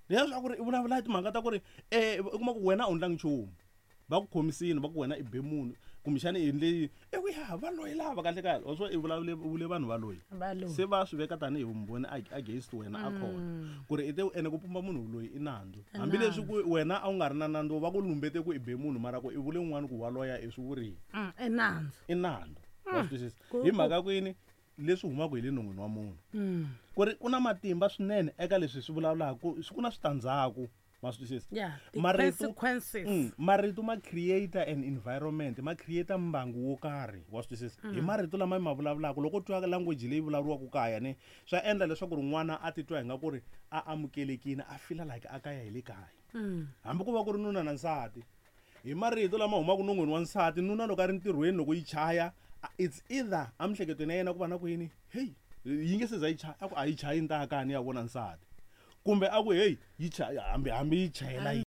Leswaku ri i vulavula hi timhaka ta ku ri u kuma ku wena a wu ndlangi nchumu, va ku khomisini, va ku wena i be munhu, kumbexana i endle yini, i ku ya va loyi lava kahle kahle wa swo i vulavule, u vule vanhu va loyi. Va loyi. Se va swi veka tanihi vumbhoni against wena a khona ku ri i te ene ku pumba munhu loyi i nandzu. I Hambileswi nandzu. ku wena a wu nga ri na nandzu, va ku lumbete ku i be munhu, mara ku i vule un'wana ku wa loya i swi vurile. I nandzu. I nandzu. Wa swi twisisa? Ku Hi mhaka ku yini? Leswi humaka hi le non'wini wa munhu. Ku ri ku na matimba swinene eka leswi swi vulavulaka, ku swi ku na switandzhaku. Ma swi twisisa? Yeah, the Marito, consequences. Marito ma create an environment, ma create mbangu wo karhi, wa swi twisisa? Hi marito lama ma vulavulaka, loko u twa language leyi vulavuriwaka kaya ne, swa endla leswaku ri n'wana a titwa hi nga ku ri a amukelekile, a feel like a kaya hi le kaya. Hambi ku va ku ri nuna na nsati, hi marito lama humaka non'wini wa nsati, nuna loko a ri ntirhweni loko yi chaya, it's either emiehleketweni ya yena ku va na ku yini, hey, yi nge se za yi chaya, a ku a yi chayi ni ta ya kaya ni ya vona nsati, kumbe a ku hey, yi chaya, hambi yi chayela Hambi